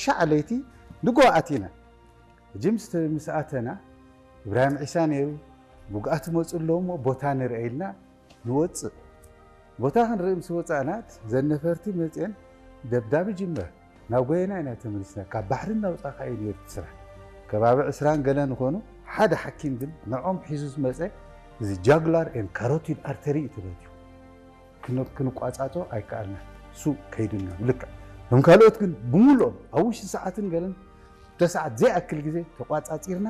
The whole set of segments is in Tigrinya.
ሻዕ ለይቲ ንጎ ኣቲና። ሕጂ ምስ ምስ ኣተና፣ ኢብራሂም ዒሳ ነይሩ፣ ብግኣት መፁ ኣለዉ እሞ ቦታ ንርአ ኢልና ንወፅእ። ቦታ ክንርኢ ምስ ወፃእና፣ ዘን ነፈርቲ መፅየን ደብዳብ ይጅመር። ናብ ጎየና ኢና ተመሊስና። ካብ ባሕሪ እናውፃእካ እዩ ነይሩ እቲ ስራሕ። ከባቢ ዕስራን ገለን ዝኾኑ ሓደ ሓኪም ግን ንዖም ሒዙ ዝመፀ፣ እዚ ጃጉላር ኤን ካሮቲድ ኣርተሪ እዩ ተበትዩ። ክን- ክንቋፃፆ ኣይከኣልና። እሱ ከይድና ልክዕ። እቶም ካልኦት ግን ብምሉኦም ኣብ ውሽጢ ሰዓትን ገለን፣ ክልተ ሰዓት ዘይኣክል ግዜ ተቋፃፂርና።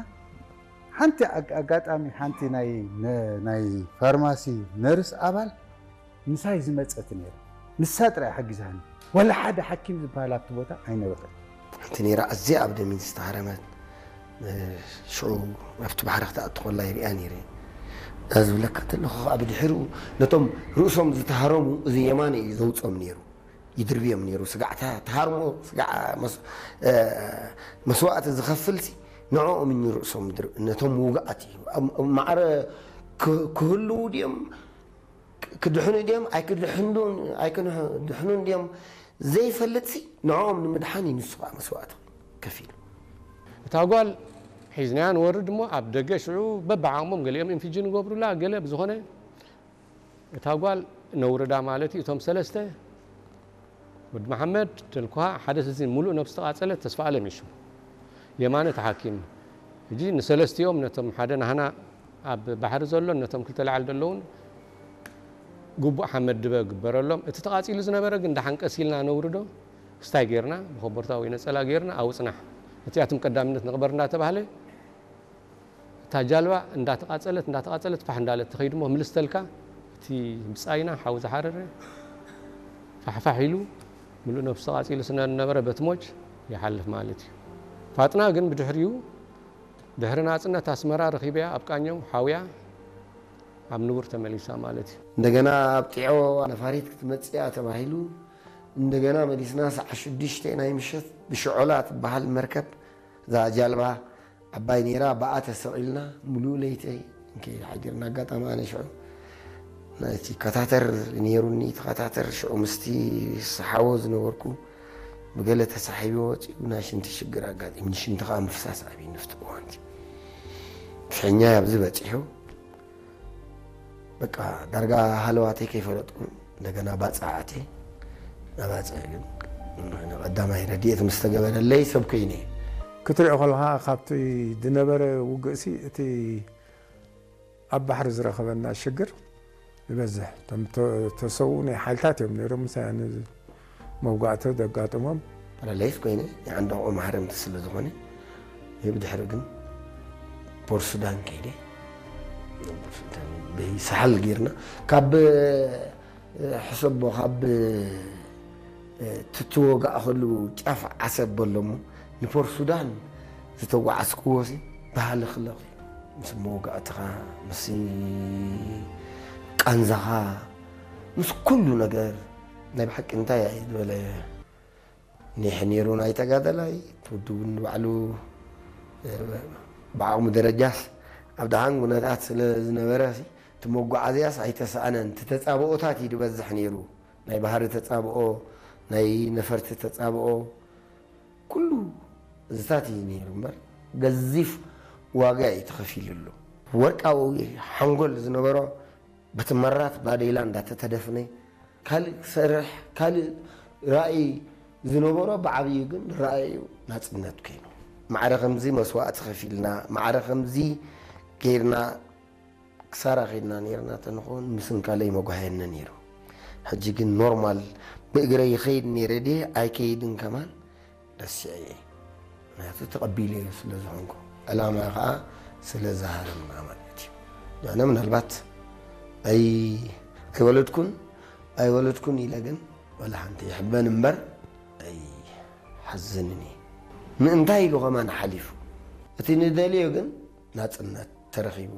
ሓንቲ ኣግ- ኣጋጣሚ ሓንቲ ናይ ነ- ናይ ፋርማሲ ነርስ ኣባል ምሳይ ዝመፀት ነይራ። ንሳ ጥራይ ሓጊዛኒ። ወላ ሓደ ሓኪም ዝበሃል ኣብቲ ቦታ ኣይነበረን። ሓንቲ ነይራ ኣዝያ ኣብ ደሚን ዝተሃረመት፣ ሽዑ ኣብቲ ባሕሪ ክትኣቱ ከላ ይሪኣ ነይረ። እዛ ዝብለካ እንተለኹ ከዓ ብድሕሪኡ ነቶም ርእሶም ዝተሃረሙ እዚ የማነ እዩ ዘውፅኦም ነይሩ። ይድርብዮም ነይሩ። ስጋዕ ተ- ተሃርሞ፣ ስጋዕ መስ- እ፣ መስዋእቲ ዝኸፍልሲ ንዕኦም እዩ ርእሶም ድር- ነቶም ውግኣት እዩ። ኣብ- ኣብ ማዕረ ክ- ክህልዉ ድዮም፣ ክ- ክድሕኑ ድዮም፣ ኣይክድሕኑን ኣይክድሕኑን ድዮም ዘይፈልጥሲ ንዕኦም ንምድሓን እዩ ንሱ ከዓ መስዋእቲ ከፊሉ። እታ ጓል ሒዝናያ ንወርድ እሞ ኣብ ደገ ሽዑ በብዓቕሞም ገሊኦም ኢንፊጅን ይገብሩላ፣ ገለ ብዝኾነ እታ ጓል ነውርዳ ማለት እዩ። እቶም ሰለስተ ወዲ መሓመድ፣ ተልኩሃ፣ ሓደ እዚ ሙሉእ ነብሲ ተቓጸለት፣ ተስፋ ኣለም እዩ ሽሙ። የማነ ተሓኪም። ሕጂ ንሰለስቲኦም ነቶም ሓደ ናህና ኣብ ባሕሪ ዘሎን ነቶም ክልተ ላዕሊ ዘለውን ግቡእ ሓመድ ድበ ግበረሎም። እቲ ተቓጺሉ ዝነበረ ግን ደሓን ቀስ ኢልና ነውርዶ፣ ክስታይ ጌርና፣ ብኮቦርታ ወይ ነጸላ ጌርና፣ ኣብኡ ጽናሕ። እቲኣቶም ቀዳምነት ንቕበር እንዳተባህለ፣ እታ ጃልባ እንዳተቓጸለት፣ እንዳተቓጸለት ፋሕ እንዳለት ትኸይድ እሞ፣ ምልስ ተልካ፣ እቲ ብጻይና ሓዊ ዝሓረረ ፋሕፋሕ ኢሉ፣ ምሉእ ነብሱ ተቓጺሉ ስለ ዝነበረ በትሞች ይሓልፍ ማለት እዩ። ፋጥና ግን ብድሕሪኡ፣ ድሕሪ ናጽነት ኣስመራ ረኺበያ ኣብ ቃኘው ሓውያ ኣብ ንቡር ተመሊሳ ማለት እዩ። እንደገና ኣብ ጢዖ ነፋሪት ክትመጽእ እያ ተባሂሉ፣ እንደገና መሊስና ሰዓት ሽዱሽተ ናይ ምሸት ብሽዖላ ትበሃል መርከብ፣ እዛ ጃልባ ዓባይ ነይራ፣ ብኣ ተሰቒልና ምሉእ ለይተይ እንከይድ ሓዲርና። ኣጋጣሚ ኣነ ሽዑ ናይቲ ካታተር ነይሩኒ፣ እቲ ካታተር ሽዑ ምስቲ ሰሓቦ ዝነበርኩ ብገለ ተሳሒቡ ወፂኡ ናይ ሽንቲ ሽግር ኣጋጢምኒ። ሽንቲ ከዓ ምፍሳስ ኣብይ ንፍቲ እዋንቲ ፍሕኛይ ኣብዚ በፂሑ። በቃ ዳርጋ ሃለዋተይ ከይፈለጥኩ እንደገና ባፅዕ ኣትየ። ናባፅዕ ግን ንቐዳማይ ረድኤት ምስ ተገበረለይ ሰብ ኮይነ። ክትሪኦ ከለኻ ካብቲ ዝነበረ ውግእሲ እቲ ኣብ ባሕሪ ዝረኸበና ሽግር ይበዝሕ። እቶም ተ- ተሰውኡ ናይ ሓይልታት እዮም ነይሮም፣ ምሳና መውጋእቲ ዘጋጥሞም። ፓራላይዝ ኮይነ፣ የዓንዳቑ ማህረምቲ ስለ ዝኾነ፣ ብድሕሪ ግን ፖርት ሱዳን ከይደ። ብሳሕል ጌርና፣ ካብ ሕሰቦ፣ ካብ ትትወጋእ ከሉ ጫፍ ዓሰብ በሎሞ፣ ንፖርት ሱዳን ዝተጓዓዝክዎ ሲ፣ ብሃለኽለኽ እዩ። ምስ መወጋእትኻ፣ ምስ ቃንዛኻ፣ ምስ ኩሉ ነገር፣ ናይ ብሓቂ እንታይ እዩ ዝበለ ኒሕ ነይሩ ናይ ተጋደላይ፣ እቲ ውድብ እውን ባዕሉ፣ እ፣ ብዓቕሙ ደረጃስ ኣብ ደሓን ኩነታት ስለ ዝነበረ ሲ፣ እቲ መጓዓዝያስ ኣይተሳእነን። እቲ ተጻብኦታት እዩ ዝበዝሕ ነይሩ። ናይ ባህሪ ተጻብኦ፣ ናይ ነፈርቲ ተጻብኦ፣ ኩሉ እዚታት እዩ ነይሩ እምበር፣ ገዚፍ ዋጋ እዩ ተኸፊሉሉ። ወርቃዊ ሓንጎል ዝነበሮ በቲ መራት ባዴላ እንዳተተደፍነ፣ ካልእ ክሰርሕ፣ ካልእ ራእይ ዝነበሮ፣ ብዓብዩ ግን ራእዩ ናጽነት ኮይኑ። ማዕረ ከምዚ መስዋእቲ ከፊልና፣ ማዕረ ከምዚ ጌርና ክሳራ ኸድና ኔርና ተንኾን ምስንካለይ መጓህየኒ ነይሩ። ሕጂ ግን ኖርማል ብእግረይ ይኸይድ ነይረ ድየ ኣይከይድን ከማን ረሲዐ እየ። ምክንያቱ ተቐቢለዮ ስለ ዝኾንኩ፣ ዕላማ ኸዓ ስለ ዝሃረምና ማለት እዩ። ኣነ ምናልባት ኣይ-፣ ኣይወለድኩን፣ ኣይወለድኩን ኢለ ግን ዋላ ሓንቲ ይሕበን እምበር ኣይሓዝንን እየ። ምእንታይ ኢሉ ከማን ሓሊፉ። እቲ ንደልዮ ግን ናጽነት ተረኺቡ።